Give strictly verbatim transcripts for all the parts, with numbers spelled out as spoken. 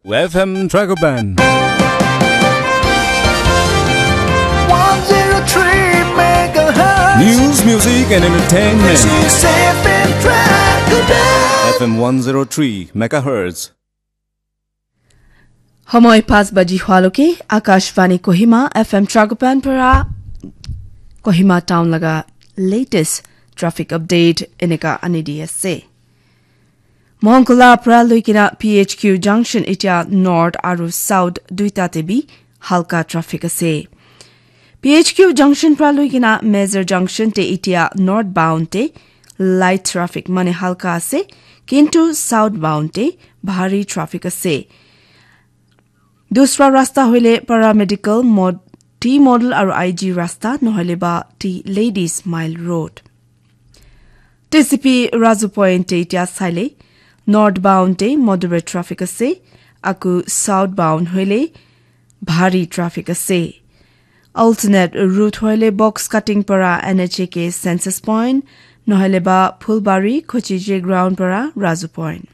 F M Dragoban. One zero three megahertz. News, music, and entertainment. This is F M Dragoban. F M one zero three megahertz. Homoi pas baji hualoke Akashvani Kohima F M Dragoban para Kohima town laga latest traffic update eneka ani di ase. Mongkula pra luikina P H Q junction itia north aru south duita te bi halka traffic ase. P H Q junction pra luikina Major junction te itia northbound te light traffic mane halka ase, kintu southbound te bhari traffic ase. Dusra rasta hoile paramedical mod, T model aru I G rasta nohoile ba T ladies mile road. T C P Razu Point te itia saile, northbound te moderate traffic ase, aku southbound hoile bhari traffic ase. Alternate route hoile box cutting para N H A K census point, nohoile ba Phulbari Khochije ground para Razu Point.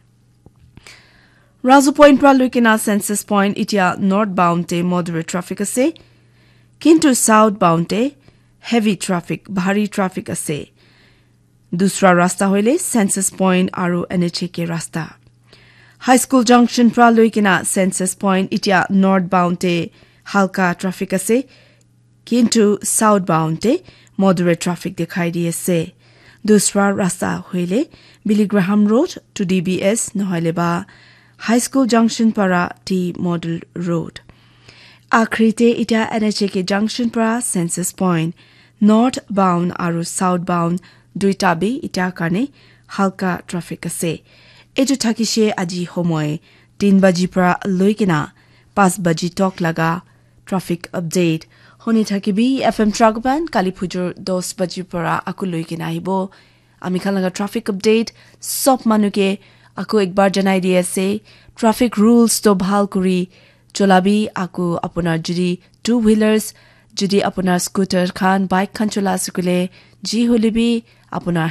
Razu Point pra luikina census point itia northbound te moderate traffic ase, kintu southbound te heavy traffic, bhari traffic ase. Dusra rasta hoile census point aru N H A K rasta. High School junction pra luikina census point itia northbound te halka traffic ase, kintu southbound te moderate traffic dikhai di ase. Dusra rasta hoile Billy Graham Road to D B S nohoile ba High School junction para T Model Road. Akhri te itia N H A K junction para census point northbound aru southbound duita bi itia karne halka traffic ase. Etu thakishe aji homoi tin baji pra luikina pas baji tok laga traffic update. Honi thakibi F M Dragoban kali phujur dos baji pra aku luikina ahibo. Ami khan laga traffic update sob manu ke aku ekbar janai di ase. Traffic rules to bhal kuri cholabi, aku apunar judi two wheelers, judi apunar scooter khan, bike khan chola ase koile, ji hoile bi apunar